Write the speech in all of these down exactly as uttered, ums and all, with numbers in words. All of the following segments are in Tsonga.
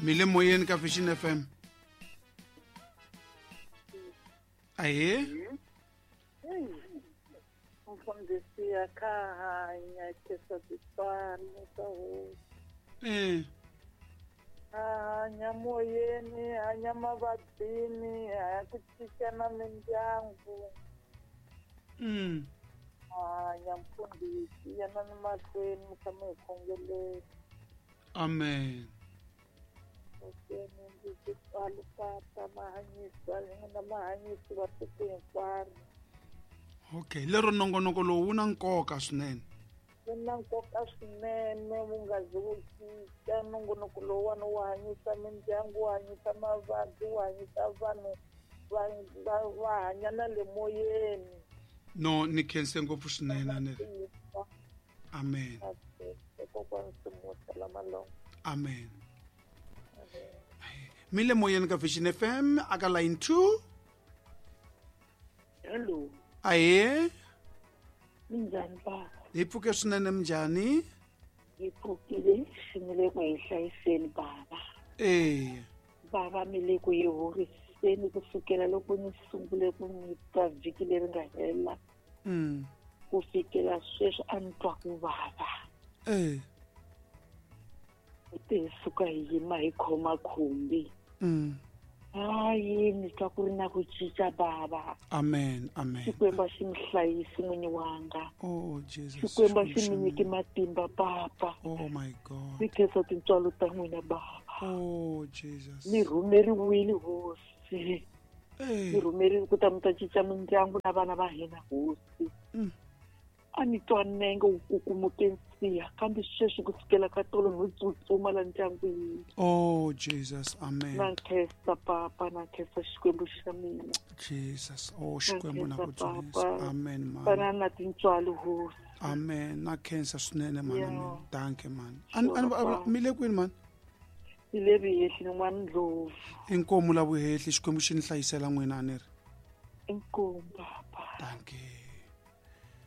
Mi le moyeni ka Vision F M. Ahee. Mfundhisi ya ka hanya kesa tintswalo ta hosi. Eh. Hanya moyeni, hanya mavabyini, hanya ku cinca na mindyangu. Mm. Hanya mfundhisi yana ni mahlweni mi tshama hi khongeleni. Amen. Ndzi tintswalo ta mahanyisa na mahanyisi va tiko hinkwaro. Okay, lero nongonoko lowu wu na nkoka swinene. Wu na nkoka swinene wu nga zi wu cinca nongonoko lowuwani wu hanyisa mindyangu, wu hanyisa mavabyi, wu hanyisa vanhu va va va hanya na le moyeni. No, ni khense ngopfu swinene Anele. Amen. Kokwani Simusa Lamalongo. Amen. Mi le moyeni ka Vision F M aka line two. Hello. Ahee. Minjhani baba? Hi pfuke swinene minjhani? Hi pfukile xi mi le ku hi hlayiseni baba. Eh. Baba mi le ku hi horiseni kusukela loko ni sungule ku mi twa vhiki leri nga hela. Mm. Ku fikela sweswi a ni twa ku vava. Eh. Te hi suka hi yima hi khoma khumbi. Mm. Hayi ni twa ku ri na ku cinca baba. Amen, amen. Xikwembu xi mi hlayisi n'winyi wanga. Oh Jesus. Xikwembu xi mi nyiki matimba papa. Oh my God. Ni khensa tintswalo ta n'wina baba. Oh Jesus. Ni rhumeriwile hosi. Ni rhumeriwile ku ta mi ta cinca mindyangu na vana va hina hosi. Mm. A ni twa nenge wu kukumuke nsiha kambe sweswi ku sukela ka tolo no tsutsuma la ndyangwini. Oh Jesus, amen. Na khensa papa, na khensa Xikwembu xa mina. Jesus, oh Xikwembu na ku dzunisa. Amen man. Fana na tintswalo hosi. Amen. Na khensa swinene man. Amen. Danke man. An mi le kwini man? Ni le Vuhehli n'wana Ndlovu. Inkomu la Vuhehli, Xikwembu xi ni hlayisela n'wina a ni ri. Inkomu papa. Danke.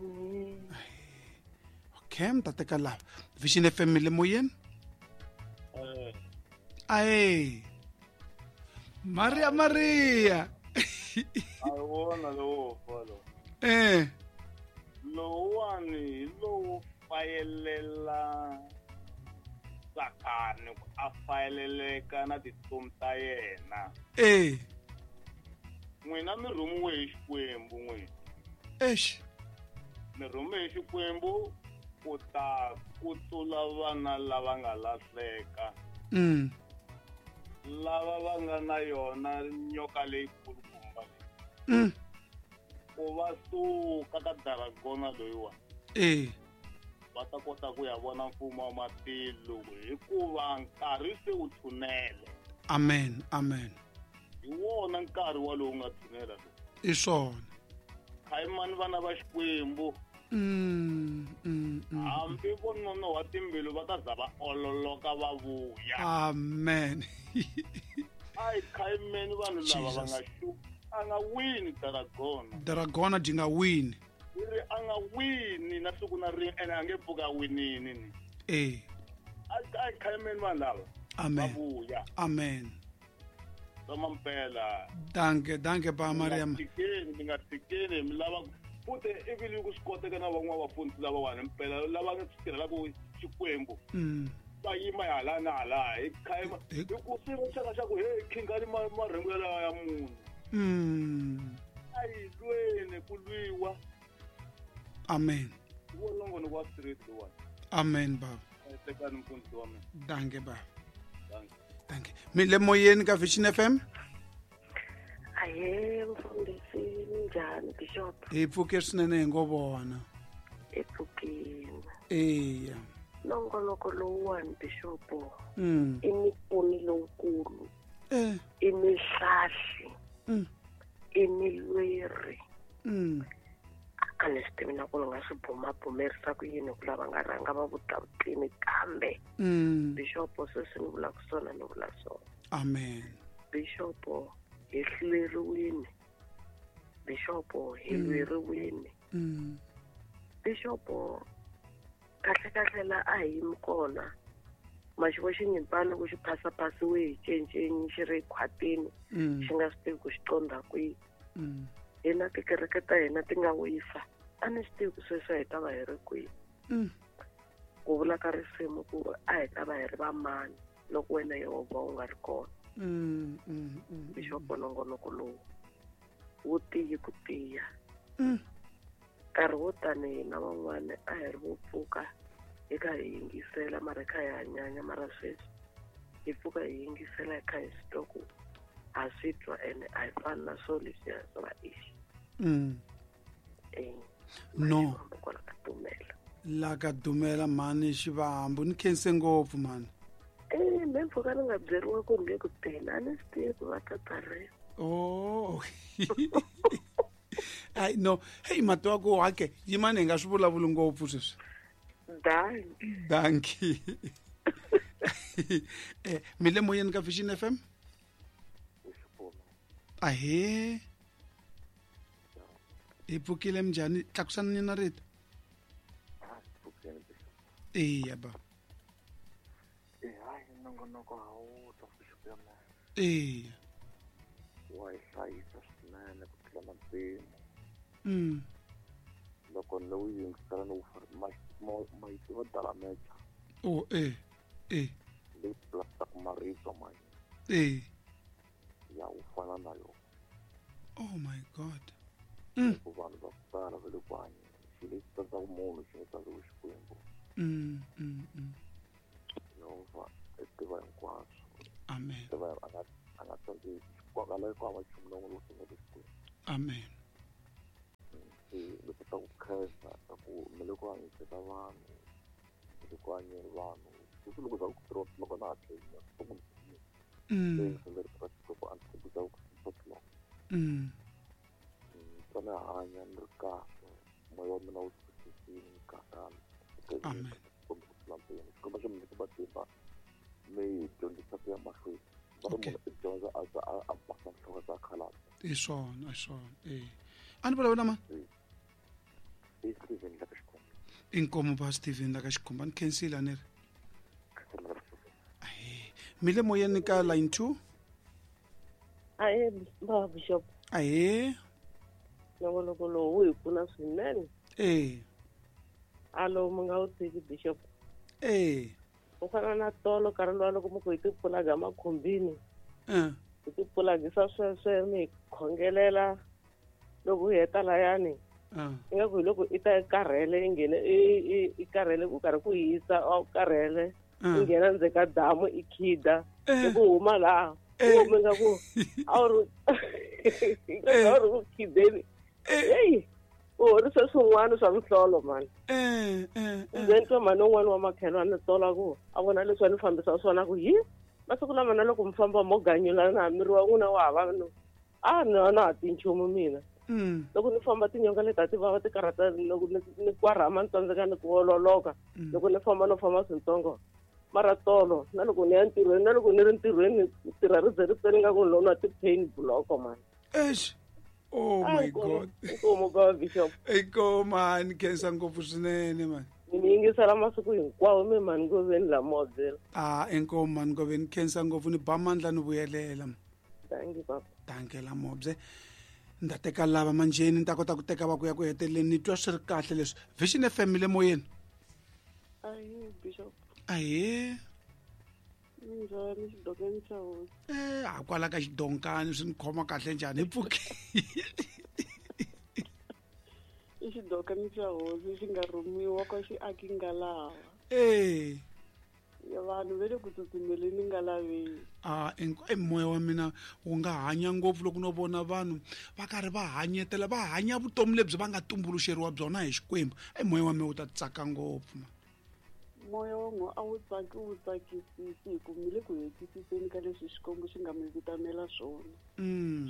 Mm. Okay, mi ta teka lava Vision F M le moyeni. Ae Maria Maria. A wona lowo folo. Eh. Lowani hi lowo fayelela Sathani ku a fayeleleka na titomi ta yena. Eh. N'wina mi rhumiwe hi Xikwembu n'wina. Eish. Mi rhume hi Xikwembu ku ta kutsula vana lava nga lahleka. Mm. Lava va nga na yona nyoka leyikulukumba leyi. Mm. Ku va suka ka dragona loyiwa. Eh. Va ta kota ku ya vona mfumo wa matilo hikuva nkarhi se wu tshunele. Amen, amen. Hi wona nkarhi walowu nga tshunela lowu. I swona. Khayimani vana va Xikwembu. Mm, mm, mm. Hambi vo nonoha timbilu va ta za va ololoka va vuya. Amen. Ai khayimeni vanhu lava va nga xu a nga wini dragona. Dragona dyi nga wini. Ri a nga wini na siku na rin'we ene a nge pfuka winini ni. Eh. Ai khayimeni vanhu lava. Amen. Va vuya. Amen. Mampela. Danke, danke ba Maria. Tikeni, mi nga tikeni mi lava futhi ivi ku swi koteka na van'wana vafundhisi lavawani mpela lava nga swi tirhelaka Xikwembu. Mm. Va yima hala na hala hi khayima hi ku swi xaka xa ku hey khingani marhengu yalawa ya munhu. Mm. A yi lweni ku lwiwa. Amen. Wo nongonoko wa street lowani. Amen baba. Tekani mfundhisi wa mina. Danke baba. Danke. Danke. Mi le moyeni ka Vision F M. Ahee mfundhisi minjhani Bishop? Hi pfuke swinene hi ngo vona. Hi pfukile. Eya. Nongonoko lowuwani Bishop. Mm. I mipfuni lowukulu. Eh. I mihlahli. Mm. I milweri. Mm. A ni swi tivi na ku ni nga swi bumabumerisa ku yini ku lava nga rhanga va vutavutini kambe. Mm. Bishop sweswi ni vulaka swona ni vula swona. Amen. Bishop hi hluleriwile. Bishop hi lweriwile. Mm. Bishop kahle kahle la a hi yimi kona Maxivo xinyimpfana loko xi phasaphasiwe hi cincinyi xi ri khwatini xi nga swi tivi ku xi qondha kwihi. Hina tikereke ta hina ti nga wisa a ni swi tivi ku sweswi a hi ta va hi ri kwihi. Ku vula ka risimu ku a hi ta va hi ri vamani loko wena Yehovha u nga ri kona. Bixopo nongonoko lowu wu tiyi ku tiya. Nkarhi wo tani hina van'wana a hi ri vo pfuka hi kha hi yingisela mara hi kha hi hanyanya mara sweswi hi pfuka hi yingisela hi kha hi swi twa ku ha swi twa ene a hi fani na swo leswiya swa va ixi. No kwala ka dumela la ka dumela mhani Xivambu ni khense ngopfu mhani. Eh me mpfhuka ni nga byeriwa ku nge ku teni a ni swi tivi ku va tata rini. Oh ai no hey mati wa ku hake yimani hi nga swi vulavuli ngopfu sweswi. Danki. Danki. Eh mi le moyeni ka Vision F M? Ahee. Hi pfukile minjhani? Tlakusani na rito. Eya ba. Eh hayi nongonoko a wu ta ya mina. Eya. Wa hi hlayisa swinene ku tlula na mpimo. Mm. Loko ni wu yingisela ni wu ma yi tiva dalamecha. Oh eh eh. Leyi plastic marito ma Eh. Ya wu fana na yona. Oh my God. Mm. Ku vanhu va ku tala va le ku hanyeni. Xilo lexi tsandzaka munhu xi nga tsandzeki Xikwembu. Mm mm mm. Yehovha i tiva hinkwaswo. Amen. Tiva a nga a nga tsandzeki. Kwalaho ku hava nchumu lowu lowu tsandzaka Xikwembu. Amen. Se ni kota ku khensa ka ku mi le ku hanyiseni ka vanhu, mi le ku hanyeni vanhu. Sweswi loko za ku three o'clock na ha tlhela Mm. Se ni ri ka Xikwembu a ni ku za ku six o'clock. Mm. Ni hanya ni ri kahle moya wa mina wu tshunxekile ni kahle. Amen. Xikwembu xi mi nyika matimba mi hi dyondzisa ku ya mahlweni. Va ri munhu i dyondza a za a basa nhloko za khalabya. I swona, i swona. Eh. A ni vulavula na mani? I Steven la ka Xikhumba. Inkomo ba Steven la ka Xikhumba ni khensile a ni ri. Ahee. Mi le moyeni ka line two? Ahee ba Bishop. Ahee. Nongonoko lowu wu hi pfuna swinene. Eh. Alo mi nga wu tshiki Bishop. Eh. U fana na tolo nkarhi luwa loko mi ku hi tipfulaga makhumbini. Eh. Hi tipfulagisa sweswe mi hi khongelela loko hi heta layani. Eh. Ingaku hi loko i ta i karhele i nghene i i i karhele ku karhi ku hisa a wu karhele i nghena ndzeni ka damu i khida loko u huma laha u hume nga ku a wu ri a wu ri ku khideni. Heyi u horise swin'wana swa mihlolo mani. Eh eh. Ndzi twa mhani un'wana wa makhelwani tola ku a vona leswi a ni fambisa swona ku hi masiku lama na loko mi famba mo ganyula na miri wa n'wina wa hava no a ni a na ha ti nchumu mina. Loko ni famba tinyonga leti a ti vava ti karhata loko ni ni kwarhama ni tsandzeka ni ku ololoka loko ni famba no famba swintsongo mara tolo na loko ni ya ntirhweni na loko ni ri ntirhweni tirha ri ze ri pele nga ku ni lo nwa ti-pain block mani. Eish. Oh my God. Inkomo baba Bishop. Inkomo mani khensa ngopfu swinene mani. Ni yingisela masiku hinkwawo mi mani Ngoveni la Mobile. Ah inkomo mani Ngoveni khensa ngopfu ni ba mandla ni vuyelela. Thank you baba. Danke la Mobile. Ni ta teka lava manjheni ni ta kota ku teka va ku ya ku heteleleni ni twa swi ri kahle leswi. Vision F M le moyeni. Ahee Bishop. Ahee. Minjhani xidokani xa hosi? Eh a kwala ka xidonkani swi ni khoma kahle njhani hi pfuke. I xidokani xa hosi xi nga rhumiwa kwa xiaki ngalawa. Eh. Ya vanhu va le ku tsutsumeleni ngalaveni. Ah e moya wa mina wu nga hanya ngopfu loko no vona vanhu va karhi va hanyetela va hanya vutomi lebyi va nga tumbuluxeriwa byona hi Xikwembu. E moya wa mina wu ta tsaka ngopfu ma. Moya wa n'we a wu tsaki wu tsakisisi hi ku mi le ku hetisiseni ka leswi Xikwembu xi nga mi vitanela swona.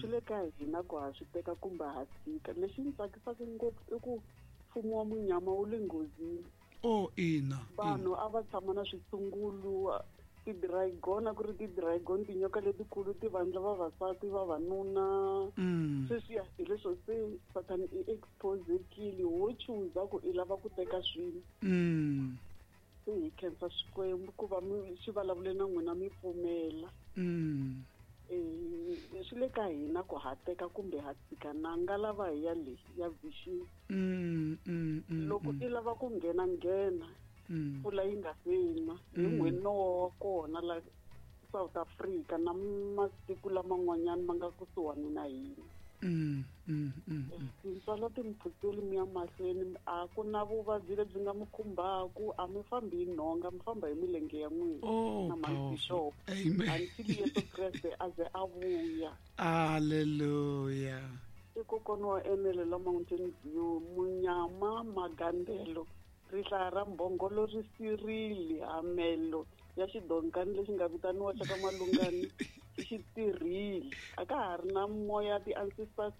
Swi le ka hina ku ha swi teka kumbe ha tshika. Lexi ni tsakisaka ngopfu i ku mfumo wa munyama wu le nghozini. Oh ina. Vanhu a va tshama na switshungulu ti-dragon a ku ri ti-dragon tinyoka letikulu ti vandla vavasati vavanuna. Sweswiya hi leswo se Sathana i exposekile wo chuza ku i lava ku teka swilo. Se hi khensa Xikwembu ku va mi xi vulavule na n'wina mi pfumela. Mm. Eh swi le ka hina ku ha teka kumbe ha tshika na nga lava hi ya le ya vision. Mm, mm, mm, Loko mm. i lava ku nghena nghena. Mm. Mpfula yi nga se na. Hi Mm. n'wina wa kona la South Africa na matiko laman'wanyana ma nga kusuhani na hina. Mm, mm, mm, mm. Tintswalo ti mi phutseli mi ya mahlweni a ku na vuvabyi lebyi nga mi khumbaku a mi fambi hi nhonga mi famba hi milenge ya n'wina Oh, na powerful. mabishop. Amen. Until Yesu Kreste a ze a vuya. Hallelujah. I kokwana wa Enele la Mountain View, munyama magandelo rihlaya ra mbhongolo ri sirile hamelo ya xidonkani lexi nga vitaniwa xa ka Malungani xi tirhile a ka ha ri na moya ti-ancestors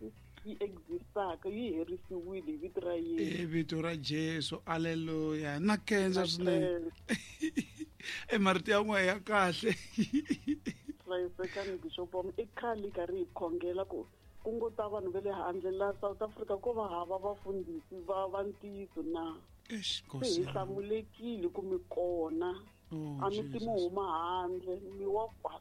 yi existaka yi herisiwile hi vito ra Yesu. Hi vito ra Jesu. Hallelujah. Na khensa swinene. Khensa. E marito ya n'we ya kahle. Hlayisekani Bishop wa mina i khale hi karhi hi khongela ku ku ngo ta vanhu va le handle la South Africa ko va hava vafundhisi va va ntiyiso na. Eish, Se Nkosi hi yami. hlamulekile ku mi kona. Oh, A mi ti mi Jesus. huma handle mi wa kwala.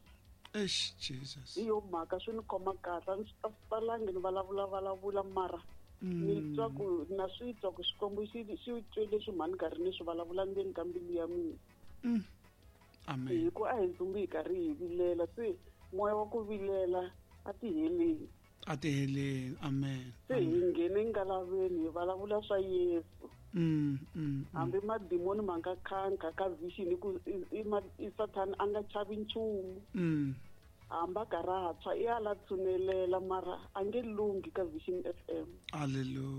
Eish, Jesus. Hi yo mhaka swi ni khoma kahle a ni swi talangi ni vulavula vulavula mara ni twa ku na swi twa ku Xikwembu xi xi twe leswi mhani karhi ni swi vulavula ndzeni ka mbilu ya mina. Mm. Amen. Hi ku a hi dzumbi hi karhi hi vilela se moya wa ku vilela a ti heleni. A ti heleni. Amen. Se hi nghene ngalaveni hi vulavula swa Yesu. Mm, mm, mm. Hambi madimoni ma nga khankha ka vision hi ku i, i, i Sathana a nga chavi nchumu. Mm. Hambi a karhi a tshwa i ala tshunelela mara a nge lunghi ka Vision F M. Hallelujah.